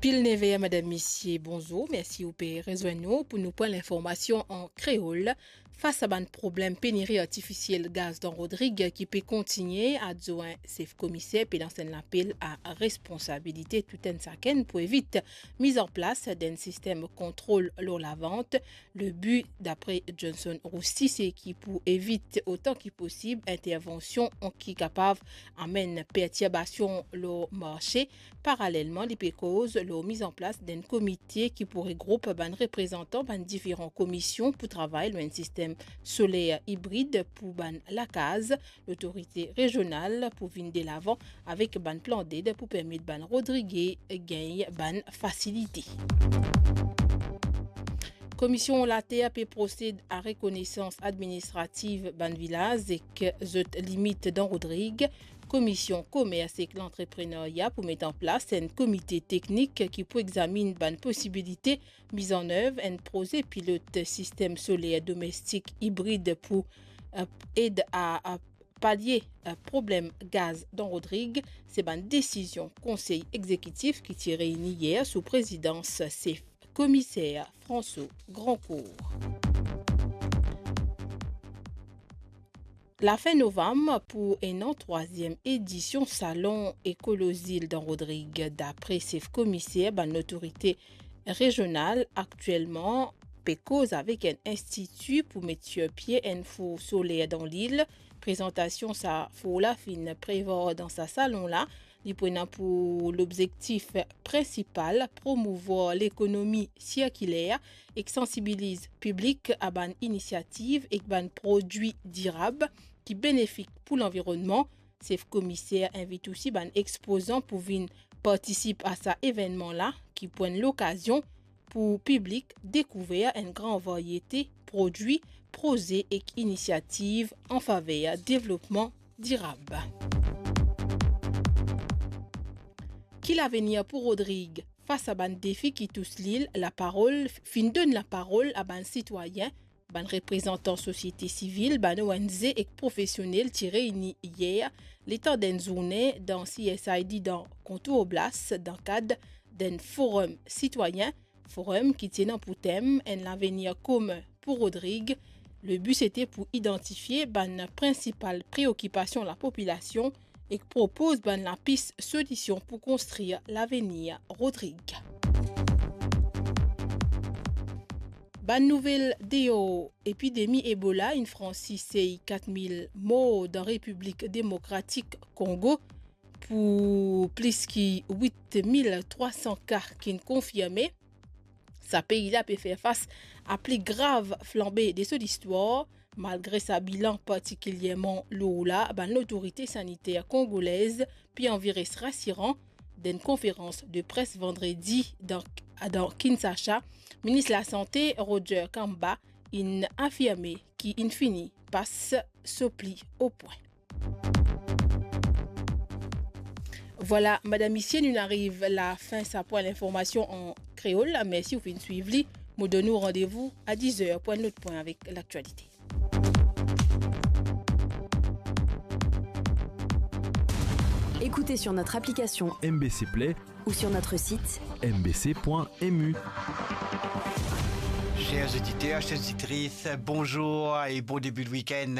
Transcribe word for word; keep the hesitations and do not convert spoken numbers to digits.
Pil neve, madam, misie, bonzour. Mersi ou pe rezwenn nou pou nou pran linformasion an kreol. Fas a bann problem peniri artifisiel gaz dan Rodrig ki pe kontinie, adzoin sef komiser pe lans enn lapel a responsabilite tou enn sakenn pou evit miz an plas d'enn sistem kontrol lor lavant. Le bi, dapre Johnson Roussy, se ki pou evit otan ki posib intervansion ki kapav amenn pertirbasion lor marse. Paralelman, li pe koz lor miz an plas d'enn komite ki pou regroup bann reprezantan bann diferan komisyon pou travay lor enn sistem soler ibrid pou bann lakaz, lotorite rezional pou vinn delavan avek bann plan ded pou permet bann Rodrige gagn bann fasilite. Komisyon Later pe prosed a rekonesans administrativ bann vilaz ek zot limit dan Rodrig. Komisyon Komers ek Lantreprenarya pou met an plas enn komite teknik ki pou examinn bann posibilite miz an nev enn proze pilot sistem soler domestik ibrid pou, eh, ed a, a palye, eh, problem gaz dan Rodrig. Se bann desizion Konsey Egzekitif ki ti reyni yer sou prezidans sef komiser François Grandcourt. Lafin novam pou ena trwaziem edision Salon Ekolozil dan Rodrig. Dapre sef komiser, bann lotorite rezional aktielman pe koz avek enn institi pou met sir pie enn four soler dan lil. Prezantasion sa four la finn prevwar dan sa salon la. Li pou ena pou lobzektif prinsipal promouvwar lekonomi sirkiler ek sansibiliz piblik a bann inisiativ ek bann prodwi dirab ki benefik pou lanvironnman. Sef komiser invit osi bann expozan pou vinn partisip a sa evennman la, ki pou enn lokazion pou piblik dekouver enn gran varyete prodwi, proze ek inisiativ an faver devlopman dirab. Ki lavenir pou Rodrig? Fas a bann defi ki tous lil, laparol, finn donn laparol a bann sitwayin, bann reprezantan sosiete sivil, bann O N G ek profesionel ti reyni yer, letan d'enn zourne dan C S I D dan Kontour Oblas, dan kad d'enn forum sitwayin, forum ki ti ena pou tem enn lavenir komin pou Rodrig. Le bi sete pou idantifie bann prinsipal preokipasion lapopilasion ek propoz bann lapis solision pou konstrir lavenir Rodrig. Bann nouvel deor, epidemi Ebola inn fransi sey kat mil mor dan Repiblik Demokratik Kongo, pou plis ki wit mil trwa san ka ki'nn konfirme. Sa pei la pe fer fas a pli grav flanbe de so listwar. Malgre sa bilan partikilierman lour la, bann lotorite saniter kongolez pe anvi res rasiran. Dan enn konferans de pres vandredi dan, dan Kinshasa, minis lasante Roger Kamba inn afirme ki inn fini pas so pli o pwin. Vwala, madam, misie, nou ariv lafin sa pwin linformasion an kreol. Mersi ou finn swiv li. Mo donn ou randevou a diz er pou enn lot pwin avek laktialite. Écoutez sur notre application M B C Play ou sur notre site M B C point M U. Chers auditeurs, chères auditrices, bonjour et bon début de week-end.